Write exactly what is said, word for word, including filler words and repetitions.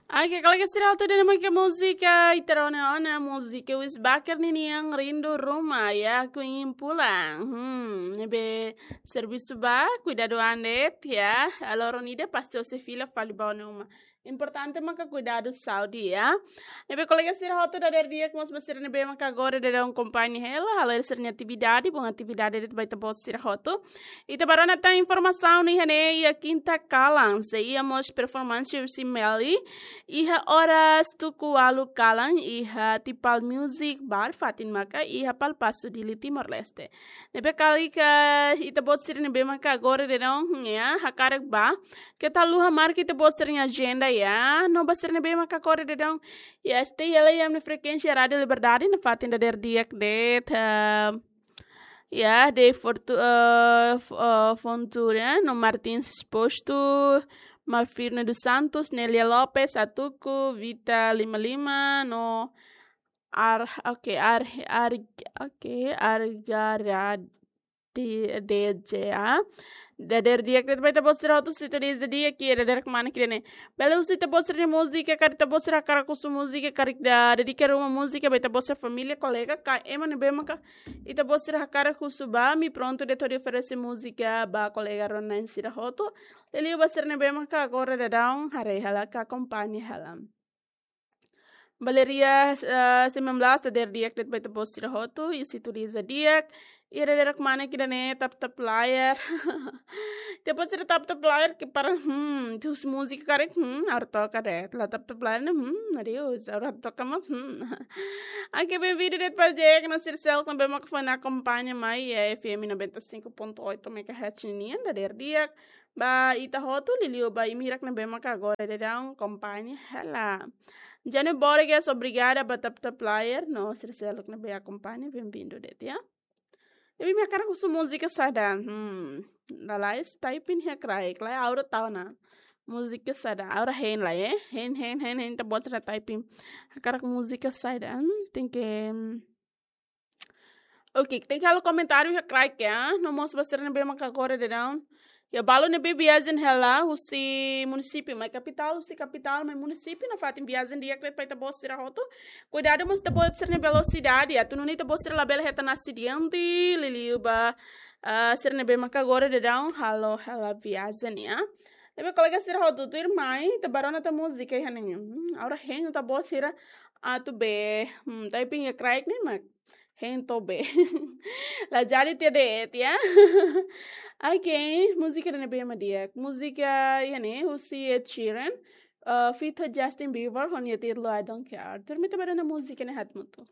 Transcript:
Oke, kolega sira hotu, ida-ne'e mak múzika ita rona ona, múzika Wis Baker ninian, Rindu Ruma, ya, Queen Pulang. Hmm, ne'ebé servisu ba, kuidadu an de'it, ya. Loron ida pasti ó sei fila fali ba ó-nia uma. Importante maka kuidadu saúde, ya. Ne'ebé kolega sira hotu, dadeer di'ak mós ba sira ne'ebé maka agora daudaun akompaña hela, halo sira-nia atividade, bom atividade de'it ba ita-boot sira hotu. Ita bá rona tan informasaun iha ne'e, iha kinta kalan sei iha mós performance husi Melly, iha oras tuku ualu kalan, iha Tipal Music Bar, fatin maka iha Palpasu, Dili, Timor-Leste. Ne'ebé karik ita-boot sira ne'ebé maka agora daudaun, ya, hakarak bá, keta haluha marka ita-boot sira-nia ajenda, ya, no ba sira ne'ebé maka agora daudaun, ya, stay hela iha ami-nia frekuénsia Rádio Liberdade, iha fatin dadeer di'ak de'it, eh, ya, de Fortu-, eh, F-, eh, Fontoura, no Martins Exposto, Malfirno dos Santos, Nélia Lopes, Atuku, Vita lima lima, no Ar-, oke, Ar-, Ar-, oke, Argarad-, D J A. Dadeer di'ak de'it ba ita-boot sira hotu, se ita diz dia que é dadeer kemana que né. Bele husu ita-boot sira-nia múzika, karik ita-boot sira hakarak husu múzika, karik ita dedika ruma múzika ba ita-boot sira-nia família, kolega, ka ema ne'ebé maka ita-boot sira hakarak husu ba, ami prontu de'it hodi oferese múzika ba kolega rona-na'in sira hotu. Liuliu ba sira ne'ebé maka agora daudaun haree hela ka akompaña hela. Valeria, eh, sembilan belas, dadeer di'ak de'it ba ita-boot sira hotu, i se ita diz di'ak, i dadeer kemana que né, Tap Tap Layar. Ita-boot sira Tap Tap Layar ke para, hmm, husi múzika karik, hmm, ha'u toka de'it. La Tap Tap Layar ne'e, hmm, adeus, ha'u toka mós, hmm. Oke, bem-vindo de'it ba Jack, no sira seluk ne'ebé maka foin akompaña mai, eh, F M noventa e cinco ponto oito megahertz nian, dadeer di'ak ba ita hotu, liuliu ba imi hirak ne'ebé maka agora daudaun akompaña hela. Jane Borges, obrigada ba Tap Tap Layar, no sira seluk ne'ebé akompaña, bem-vindo de'it, ya. Ne'ebé imi hakarak husu múzika saida, hmm, lalais typing iha kraik, lai aura tau ona. Múzika saida, aura hein lai, eh? Hein, hein, hein, hein, ita-boot sira typing. Hakarak múzika saida, hmm, tenke, hmm, oke, tenke halo komentáriu iha kraik, ya. No mós ba sira ne'ebé maka agora daudaun, ya, balu ne'ebé viajen hela husi munisípiu, mai kapitál, husi kapitál mai munisípiu, nafatin viajen di'ak de'it ba ita-boot sira hotu. Kuidadu mós ita-boot sira-nia velosidade, atu nune'e ita-boot sira labele hetan asidente, liuliu ba, ah, sira ne'ebé maka agora daudaun halo hela viajen, ya. Ne'ebé kolega sira hotu, tuirmai ita bá rona tan múzika iha ne'e. Hmm, aura hein ita-boot sira atu bee, hmm, typing iha kraik ne'e mak hein to'o bee. La jadi tiha de'it, ya. Oke, múzika ida-ne'ebé mak di'ak. Múzika iha ne'e husi Ed Sheeran, eh, feat Justin Bieber, ho nia títulu I Don't Care. Tuirmai ita bá rona múzika ne'e haat mutu.